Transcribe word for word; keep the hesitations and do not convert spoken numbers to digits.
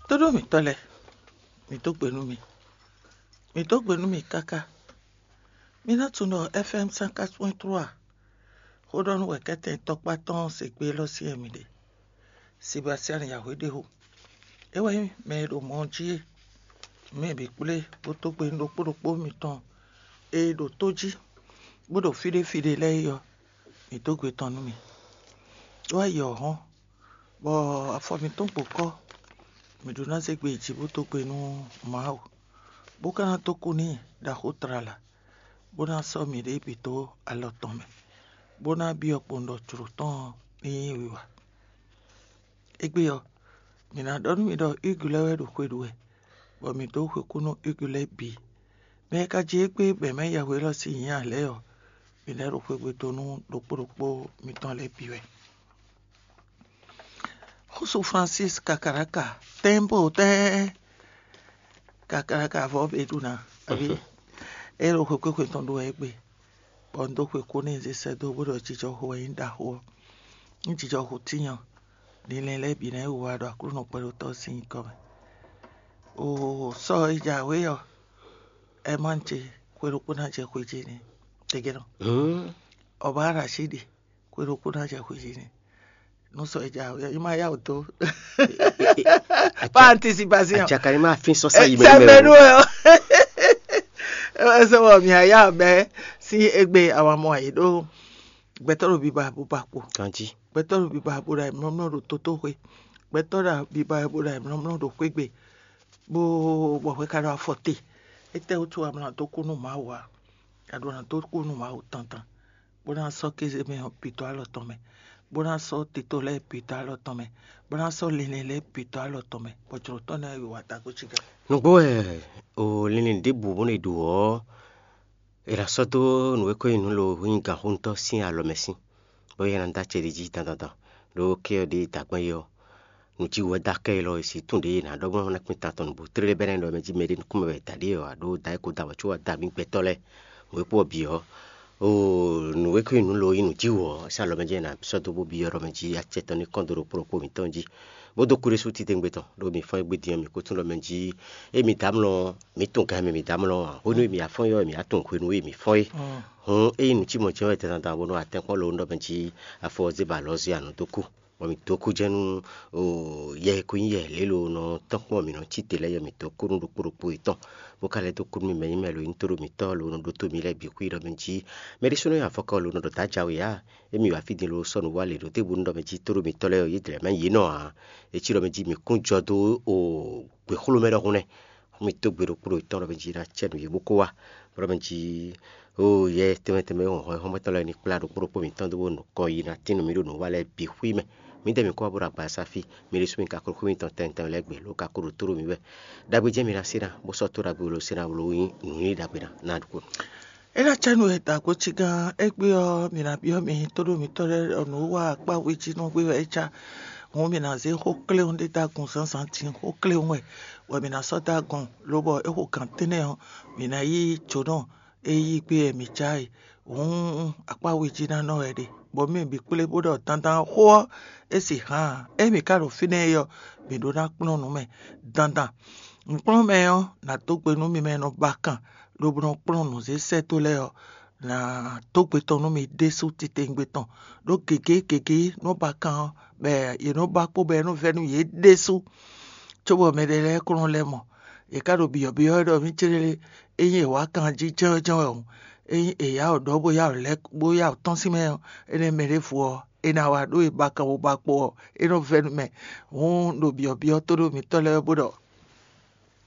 Tóɖó mǐtɔn lɛ́ɛ, mǐ dó gbe nú mi. Mǐ dó gbe nú mi káká. Mi ná tunwun ɖɔ F M cent quatre point trois xó ɖɔ nú wɛ̌kɛ́tɛn tɔkpá tɔn se gbé élɔ́ syɛ́n mi ɖe. Sebastian Yahweh ɖe xo. É wɛ nyí mɛ e ɖo mɔ ɔ́ jí é. Mɛ bǐ kplé bó dó gbe nú ɖokpó ɖokpó mitɔn e ɖo tó jí, bó ɖo fí ɖé fí ɖé lɛ́ɛ é ɔ́, mǐ dó gbe tɔn nú mi. É wá yi ɔ̌ hɔ́n, bɔ afɔ mǐtɔn gbo kɔ́, mǐ ɖó ná zé gbe yi jǐ bó dó gbe nú Mawu, bó ka ná dó kú n'i ɖaxó tlala, bó ná sɔ́ mǐɖée bǐ dó alɔ tɔn mɛ, bó ná byɔ́ kpowun ɖɔ jlǒ tɔn ɔ́ ní nyí wiwa. Égbé ɔ́, mǐ ná ɖɔ nú mi ɖɔ Hugue lɛ́ɛ wɛ ɖo xwe ɖu wɛ, bɔ mǐ dó xwekú nú Hugue lɛ́ɛ bǐ. Mɛ e ka jí égbé bɔ è mɛ yɛhwe élɔ́ sín nyǐ ǎ lɛ́ɛ ɔ́, mǐ lɛ́ ɖo xwegbe dó nú ɖokpó ɖokpó mitɔn lɛ́ɛ bǐ wɛ. Xúsu Francis Kakaraka, tɛ́nbó tɛ́n Kakaraka vɔ́ bě ɖu ná, abǐ é ɖo xwekpéxwe tɔn ɖu wɛ égbé, bɔ un dó xwe kú n'i zé sɛ́ dó bó ɖɔ jijɔxo wɛ nyí ɖaxó ɔ́. Nú jijɔxo tíin ɔ́, linlɛn lɛ́ɛ bǐ ná yi wá ɖo Aklúnɔ kpɛɖotɔ́ sín nyǐkɔ mɛ. Oo, sɔ e jǎwe ɔ́, Ɛmán ce xwe ɖokpó ná jɛ xwe ce n'i. Tɛgɛnɔ. Ɔba Rashidi xwe ɖokpó ná jɛ xwe ce n'i. Nú sɔ e jǎwe ɔ́, yi ma yá wǔ dó. Pas anticipation. Acaka ni ma fin sɔ sa yi mɛ sɛmɛnu ɛ ɔ. Ɛsɛ wɔ mi aya mɛ si egbe awa mɔ ayi ɖo gbɛtɔ ɖo biba bo ba kpo. Kanji. Gbɛtɔ ɖo biba bo ɖo ayimlɔmlɔ ɖo tótóxwe. Gbɛtɔ ɖo biba bo ɖo ayimlɔmlɔ ɖo xwégbe. Bó bɔ xwe ka ɖo afɔ te. Étɛ́ wútu amlɔ dó kú nú Mawu ǎ? Aɖo ná dó kú nú Mawu tántán, bó ná sɔ́ kéze mɛ ɔ́ bǐ dó alɔ tɔn mɛ, bó ná sɔ́ tito lɛ́ɛ bǐ dó alɔ tɔn mɛ, bó ná sɔ́ linlɛn lɛ́ɛ bǐ dó alɔ tɔn mɛ, bɔ jlǒ tɔn ná yi wa tagbó cí gán. Nǔgbó wɛ o linlin ɖěbǔ bó nɔ ɖu ɔ́, è nǎ sɔ́ dó nǔ e ko nyí nǔ lo nyí gǎnxóntɔ́ sín alɔ mɛ sín, bɔ yɛ ná dó acɛ ɖé jí dandandan, ɖó ké ɔ́ ɖě dǎgbɛ́n é ɔ́, nǔ jí wɛ dó akɛ élɔ́ e sí tún ɖě è nǎ ɖɔ gbɔn ná kpín tantɔn nǔgbó tlélé bɛ́ nɛ́ ɖɔ mɛ jí mɛɖé nukúnmɛ wɛ da ɖě ɔ́, aɖó da é ko da wɛ có wá da mǐ gbɛtɔ́ lɛ́ɛ. Nǔ e kpó ɔ́ bǐ ɔ́, oo, nǔ e ko nyí nǔ lo nyí nǔ jí wǔ ɔ́, é sɔ́ alɔ mɛ jí è nǎ sɔ́ dó bó byɔ́ ɖɔ mɛ jí acɛ tɔn ní kɔn dó ɖo kplɔ́nkpó mǐtɔn jí, bó dó kú ɖésú titewungbe tɔn, ɖó mi fɔ́n é gbé din ɔ́, mǐ ko tunwun ɖɔ mɛ jí ée mi dǎ mlɔ ɔ́, mǐ tunwun gan e mɛ mǐ dǎ mlɔ ɔ́ ǎ. Hwenu e mǐ afɔ́n ɔ́, mǐ á tunwun hwenu e mǐ fɔ́n é. Hǔn ényí nǔ cí mɔ̌ jɛ́n wɛ tɛntantan bónú atɛ́nkpɔ́n lónú ɖɔ mɛ jí afɔ ɔ́ zé ba alɔ zé anǔ dó kú, bɔ mǐ dó kú jɛ́n nú yɛ e ko nyí yɛ lě lo nɔ tɔ́n kpɔ́n mǐ nɔ cí te lɛ́ɛ yɛ mǐtɔn kú nú ɖokpó ɖokpó yětɔn, bó ka lɛ́ dó kú nú mì mɛ nyí mɛ lo nyí tóɖó mǐtɔn lo nɔ ɖótó mǐ lɛ́ɛ bǐ xwí ɖɔ mɛ jí mɛ ɖésúnɔ nyi afɔkɔ lo nɔ ɖɔ dǎ jǎwe ǎ. Émí wǎ fí din lo sɔ́ nǔ wá lě ɖó tébu nú ɖɔ mɛ jí tóɖó mǐtɔn lɛ́ɛ ɔ́, yě dlɛ̌ mɛ yě nɔ ǎ. É cí ɖɔ mɛ jí mǐ kún jɔ dó o gběxló mɛ ɖɔhun nɛ́. Xú mì dó gbe ɖokpó ɖo tɔn ɖɔ mɛ jí ná cɛ nǔ yě bó kó wá, bó ɖɔ mɛ jí oo yɛ tɛnmɛ tɛnmɛ e hɔn hɔn xɔ́mɔtɔn lɛ́ɛ ní kplá ɖokpó ɖokpó mǐtɔn dó bó nɔ kɔ yi ná tín nú mì ɖo nǔ wa lɛ́ɛ bǐ xwí mɛ. Mǐdɛɛ mǐ kó wá bó ɖo agbaza fí, mi ɖésú mi ka kó xwé mitɔn tɛnmɛ tɛnmɛ lɛ́ɛ gbe lǒ ka kó ɖo tóɖó mǐ wɛ. Ɖagbe jɛ́n mi ná se ná, bó sɔ́ tó ɖagbe lo se ná lo nyí nǔ nyí ɖagbe ná ná ɖokpó. É ná cɛ nú e dǎgbó cí gán égbé ɔ́, mǐ ná byɔ́ mi tóɖó mǐtɔn lɛ́ɛ ɖɔ nǔ wa akpá we jí nú gbé wɛ é cá. Hǔn mǐ ná zé xó kléwún ɖé dó agun zǎnzǎn din, xó kléwún wɛ, bɔ mǐ ná sɔ́ dó agun, lobɔ é xo gǎn tɛ́nnɛ ɔ́, mǐ ná yí jǒnɔ e yí gbé wɛ mǐ cá e. Hǔn akpá we jí ná nɔ wɛ ɖe, bɔ mì bǐ kplé bó ɖɔ dandan xó ɔ́, é sì hǎn ǎ. Ényí mǐ ka ɖo fínɛ́ é ɔ́, mǐ ɖó ná kplɔ́n nǔ mɛ dandan. Nǔkplɔ́nmɛ ɔ́ ná dó gbe nú mi mɛ e nɔ ba kan lobo nɔ kplɔ́n nǔ zé sɛ́ dó lɛ́ɛ ɔ́, ná dó gbe tɔn nú mi ɖésú titewungbe tɔn. Ɖó gěgé gěgé nɔ ba kan ɔ́, bɔ yě nɔ ba kpó bɔ é nɔ vɛ́ nú yě ɖésú. Cóbɔ mɛɖé lɛ́ɛ kplɔ́n lɛ́ mɔ, yě ká ɖo byɔ̌byɔ́ wɛ ɖɔ mǐ céɖélé, ényí è wǎ kan jí jɛ́nwɛ́jɛ́nwɛ hǔn, ényí è yá wǔ ɖɔ bó yá wǔ lɛ́ bó yá wǔ tɔ́n sín mɛ ɔ́, énɛ́ mɛ ɖěvo ɔ́, é ná wá ɖó e ba kan bó ba kpo ɔ́, é nɔ vɛ́ nú mɛ. Hǔn ɖo byɔ̌byɔ́ tóɖó mǐtɔn lɛ́ɛ wɛ bó ɖɔ